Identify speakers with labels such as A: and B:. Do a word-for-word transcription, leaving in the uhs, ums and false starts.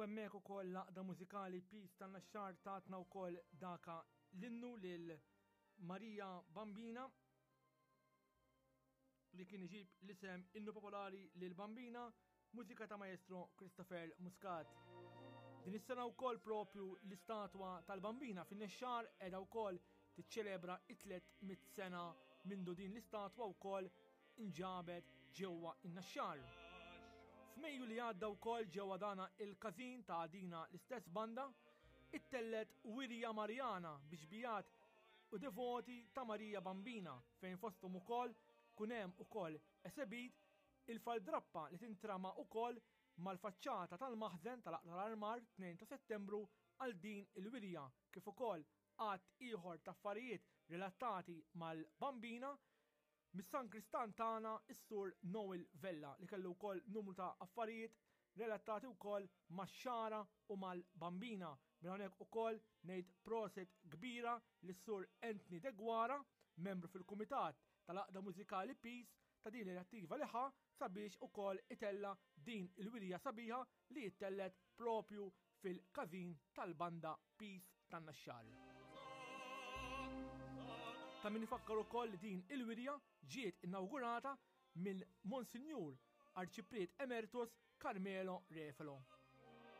A: Hemmhekk ukoll l-Għaqda Mużikali Peace tan-Naxxar tatna wkoll daka l-innu lil Marija Bambina li kien iġib l-isem Innu Popolari lil Bambina, mużika ta' Maestro Christopher Muscat. Din is-sena wkoll propju l-istatwa tal-Bambina fin-Naxxar qiegħda wkoll tiċċelebra it-tliet mitt sena mindu din l-istatwa wkoll inġabet ġewwa in-Naxxar. F'Mejju li għadda wkoll ġewwa dana il-każin ta' dina l-istess banda ittellet Wirja Marjana biex bijat u devoti ta' Marija Bambina, fejn fosthom ukoll kun hemm ukoll esebit il-faldrappa li tintrama ukoll mal-faċċata tal-maħżen tal-Aqla l-Armar tnejn ta' Settembru għal din il-wirja, kif ukoll għadd ieħor ta' affarijiet relatati mal-Bambina mis-San Kristan tagħna is-Sur Noel Vella, li kellu wkoll numru ta' affarijiet relatati wkoll max-xara u mal-Bambina. Minn hawnhekk ukoll ngħid proset kbira lis-Sur Anthony Deguara, membru fil-Kumitat tal-Għaqda Mużikali Peace, ta' din l-inizjattiva li ħa sabiex ukoll itella din il-wirja sabiħa li jittellet propju fil-każin tal-banda Peace tan-Naxxar. Ta' min ifakkar ukoll li din il-wirja ġiet inaugurata minn Monsinjur Arċipriet Emeritus Carmelo Refalo.